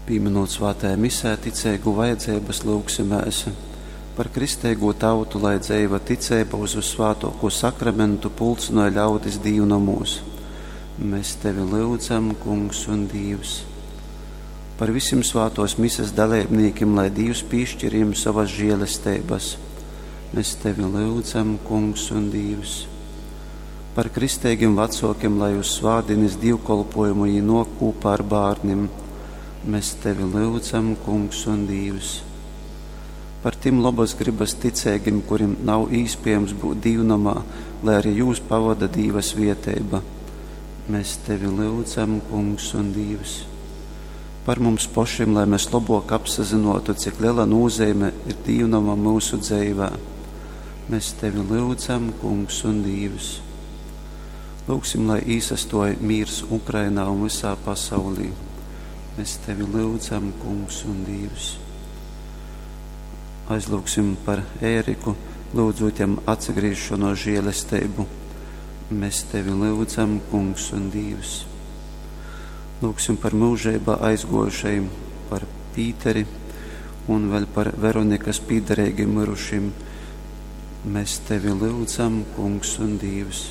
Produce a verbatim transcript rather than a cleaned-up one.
Pīminūt svātajā misē ticeigu vajadzeibas, lyugsimēs par kristeigū tautu, lai dzeiva ticeiba uz vyssvātōkū sakramentu pulcynoj ļaudis dīvnomūs. Mēs tevi lyudzam, Kungs un Dīvs. Par visim svātōs mises daleibnīkim, lai Dīvs pīšķir jim sovas žēlesteibas. Mēs tevi lyudzam, Kungs un Dīvs. Par kristeigim vecōkim, lai uz svātdīnes dīvkolpojumu jī nōk kūpā ar bārnim. Mēs tevi lyudzam, Kungs un Dīvs. Par tim lobas gribas ticeigim, kurim nav īspējams būt dīvnomā, lai arī jūs pavada Dīva svieteiba. Mēs tevi lyudzam, Kungs un Dīvs. Par mums pošim, lai mēs lobok apsazinotu, cik liela nozīme ir dīvnoma mūsu dzeivē. Mēs tevi lyudzam, Kungs un Dīvs. Lūgsim, lai īsastoja mīrs Ukrainā un visā pasaulī. Mēs tevi lyudzam, Kungs un Dīvs. Aizlūgsim par Ēriku, lūdzot jam atsagriešanos žēlestību. Mēs tevi lyudzam, Kungs un Dīvs. Lūgsim par mūžībā aizgojušajiem, par Pīteri un vēl par Veronikas pīderīgiem mirušiem. Mēs tevi lyudzam, Kungs un Dīvs.